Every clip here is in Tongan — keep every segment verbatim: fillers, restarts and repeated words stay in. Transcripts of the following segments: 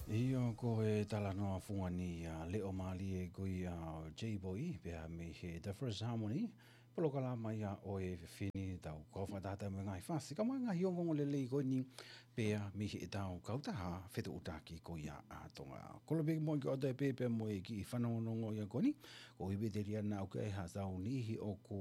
ʻIo, ko e talanoa fungani ia, leʻo mālie ko ia ʻo Jay Boy, pea mei he The First Harmony, polokalama ia ʻo e fefine, tau kau fakataha mo e ngaahi fasi, kae mo e ngaahi ongoongo lelei ko eni, pea mei heʻetau kautaha fetuʻutaki ko ia ʻa Tonga. Kole pē ke mou ʻoatu e pē pea mo e kiʻi fanongonongo ia ko eni, ko e pē te lia naʻa ʻoku ʻi ai haʻatau niʻihi ʻoku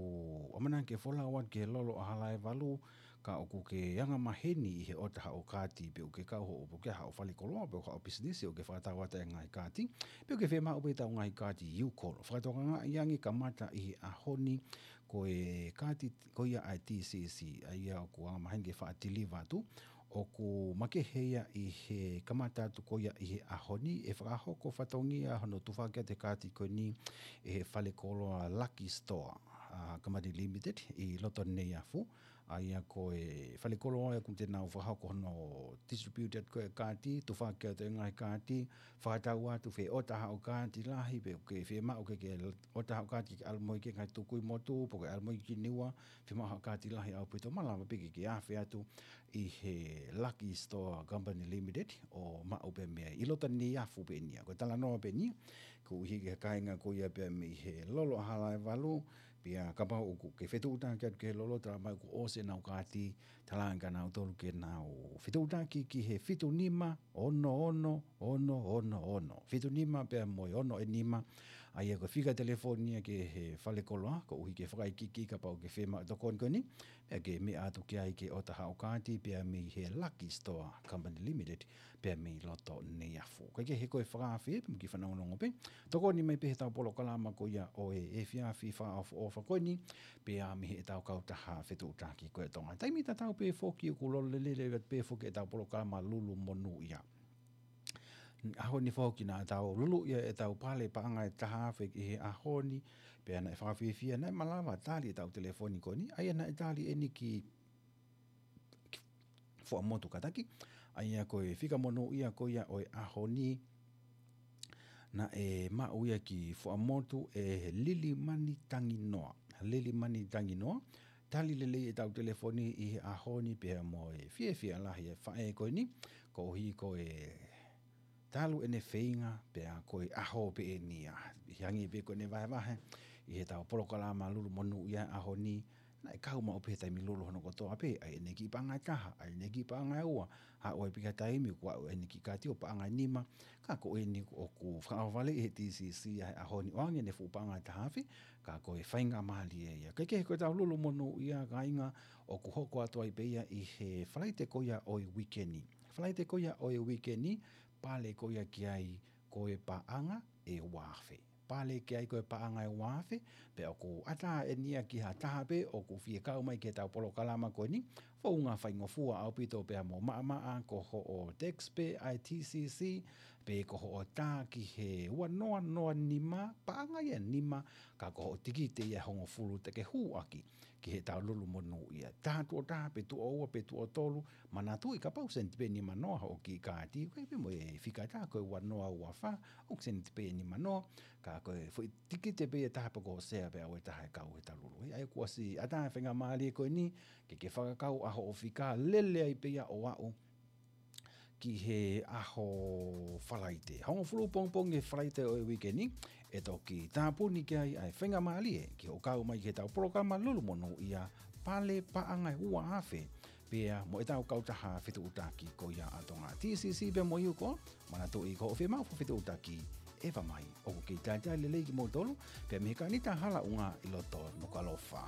ʻamanaki ke folau atu ki he lolo ʻa Halaevalu, ka ʻoku ke anga maheni ʻi he ʻota haʻo kaati, pe ʻoku ke kau hoʻo, pe ʻoku ke haʻo falekoloa, pe ʻoku haʻo pisinisi, ʻoku ke fakatau atu e ngaahi kaati, pe ʻoku ke fiemaʻu pē ʻetau ngaahi kaati, you call. Fakatokangaʻi ange kamata ʻi he ʻaho ni, ko e kaati ko ia ʻa e T C C, ʻa ia ʻoku anga maheni ke faʻa tiliva atu, ʻoku makehe ia ʻi he kamata atu ko ia ʻi he ʻaho ni, ʻe fakahoko fatongia hono tufaki atu e kaati ko eni ʻe he falekoloa Lucky Store, ʻa, Company Limited ʻi loto Neiafu, ʻa ia ko e falekoloa ia ʻoku te nau fakahoko hono distribute atu ko e kaati, tufaki atu e ngaahi kaati, fakatau atu fē ʻota haʻo kaati lahi, pe ʻoku ke fiemaʻu ke ke ʻota haʻo kaati ke ʻalu mo ia ki he ngaahi tukui motu, pe ʻoku ke ʻalu mo ia ki Niua, fiemaʻu haʻo kaati lahi ʻaupito, malava pē ke ke afe atu ʻi he Lucky Store Company Limited ʻo maʻu pē mei ai. ʻI loto Neiafu pē eni ia. Ko e talanoa pē eni ia, koeʻuhi ko e kāinga ko ia pea mei he lolo ʻa Halaevalu, pea kapau ʻoku ke fetuʻutaki atu ki he lolo, tala mai kuo ʻosi ʻenau kaati, talaange kia nautolu ke nau fetuʻutaki ki he fitu nima, ono ono, ono ono ono. Fitu nima pea mo e ono ʻe nima, ʻa ia ko e fika telefoni ia ki he falekoloa, koeʻuhi ke fakaikiiki kapau ʻoku ke fiemaʻu e tokoni ko eni, pea ke meʻa atu ki ai ke ʻota haʻo kaati pea mei he Lucky Store Company Limited, pea mei loto Neiafu. Kae kehe ko e fakaafe, pea mo e kiʻi fanongonongo pē, tokoni mai pē heʻetau polokalama ko ia ʻo e efiafi fakaʻofoʻofa ko eni, pea mei heʻetau kautaha fetuʻutaki ko e Tonga. Taimi tatau pē foki ʻoku lolo lelei atu pē foki ʻetau polokalama Lulu Monūʻia. ʻAho ni foki naʻa tau luluʻi ʻetau pale paʻanga ʻe taha afe ʻi he ʻaho ni, pea naʻe fakafiefia, naʻe malava tali ʻetau telefoni ko eni, ʻa ia naʻe tali eni ki Fuaʻamotu kātaki, ʻa ia ko e fika monūʻia ko ia ʻo e ʻaho ni, naʻe maʻu ia ki Fuaʻamotu ʻe Lilimani Tanginoa. Lilimani Tanginoa, tali lelei ʻetau telefoni ʻi he ʻaho ni pea mo e fiefia lahi e faʻē ko eni, koeʻuhi ko e talu ʻene feinga pea ko e ʻaho pē eni ia. ʻI he hangē pē ko ʻene vahevahe ʻi heʻetau polokalama Lulu Monūʻia ʻaho ni, naʻe kau maʻu pē he taimi lulu hono kotoa pē, ʻa ʻene kiʻi paʻanga ʻe taha, ʻa ʻene kiʻi paʻanga ʻe ua, ʻa ʻo e pika taimi kuo aʻu ʻene kiʻi kaati ʻo paʻanga ʻe nima, ka ko eni ʻoku fakaʻohovale ʻe he T C C ʻa e ʻaho ni ʻoange ʻene fuʻu paʻanga ʻe taha afe, ka ko e faingamālie ia. Kae kehe ko ʻetau Lulu Monūʻia kāinga ʻoku hoko atu ai pē ia ʻi he Falaite ko ia ʻo e uike ni. Falaite ko ia ʻo e uike ni, pale ko ia ki ai ko e paʻanga ʻe ua afe. Pale ki ai ko e paʻanga ʻe ua afe, pea ʻoku ʻatā eni ia ki ha taha pē ʻoku fie kau mai ki heʻetau polokalama ko eni, founga faingofua ʻaupito pea mo maʻamaʻa ko hoʻo text pē ʻa e T C C, pe ko hoʻo tā ki he ua noa noa nima, paʻanga ia ʻe nima, ka ko hoʻo tikite ia ʻe hongofulu te ke hū ʻaki ki heʻetau Lulu Monūʻia. Taha tuʻo taha pe tuʻo ua pe tuʻo tolu, manatuʻi kapau seniti pē ʻe nima noa hoʻo kiʻi kaati, ʻoku ʻi ai pē mo e fika ʻe taha ko e ua noa ua fā, ʻoku seniti pē ʻe nima noa, ka ko e foʻi tikite pē ʻe taha pe ko e sea pē ʻa e taha ʻe kau heʻetau Lulu. ʻA ia kuo ʻosi ʻatā e faingamālie ko eni, ke ke fakakau ʻa hoʻo fika lele ai pē ia ʻo aʻu ki he ʻaho Falaite. Hongofulu pongipongi he Falaite ʻo e uike ni, ʻe toki tāpuni ki ai ʻa e faingamālie ki hoʻo kau mai ki heʻetau polokalama Lulu Monūʻia, pale paʻanga ʻe ua afe, pea mo ʻetau kautaha fetuʻutaki ko ia ʻa Tonga. T C C pea mo Yuko, manatuʻi ko hoʻo fiemaʻu fakafetuʻutaki, ʻeva mai, ʻoku kei talitali lelei kimoutolu, pea mei he Kanita Halaʻunga ʻi loto Nukuʻalofa.